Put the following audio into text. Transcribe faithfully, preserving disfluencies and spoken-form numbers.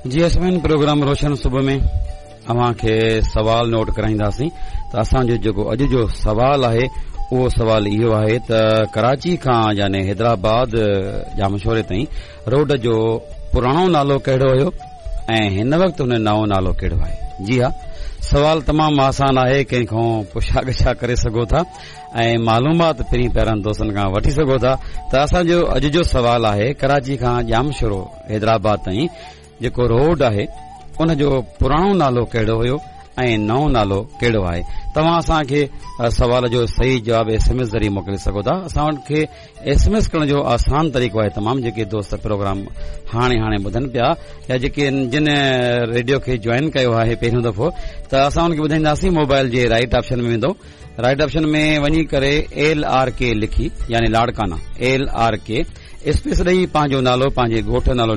جي اسمين پروگرام روشن صبح ۾ اوهان کي سوال نوٽ ڪرائينداسين ته اسان جو جيڪو اڄ جو سوال آهي اهو سوال اهو آهي ته ڪراچي کان يعني حيدرآباد ڄامشوري تائين روڊ جو پراڻو نالو ڪهڙو هيو ۽ هن وقت هن نئون نالو ڪهڙو آهي جي ها سوال تمام آسان آهي ڪنهن کان پڇا ڳڇا ڪري سگهو ٿا ۽ معلومات پرين پيارن دوستن کان وٺي سگهو ٿا ته اسان جو اڄ جو سوال آهي ڪراچي کان ڄامشورو حيدرآباد تائين جيڪو روڊ آهي ان جو پراڻو نالو ڪهڙو هيو ۽ نئون نالو ڪهڙو آهي توهان اسان کي سوال جو صحيح جواب ايس ايم ايس ذريعي موڪلي سگهو ٿا اسان کي ايس ايم ايس ڪرڻ جو آسان طريقو آهي تمام جيڪي دوست پروگرام هاڻي هاڻي ٻڌن پيا يا جيڪي جن ريڊيو کي جوائن ڪيو آهي پهريون دفعو ته اسان ان کي ٻڌائينداسين موبائل جي رائٽ آپشن ۾ ويندو رائٽ آپشن ۾ وڃي ڪري ايل آر ڪي لکي يعني Larkana L R K space ڏئي پنهنجو نالو پنهنجي ڳوٺ نالو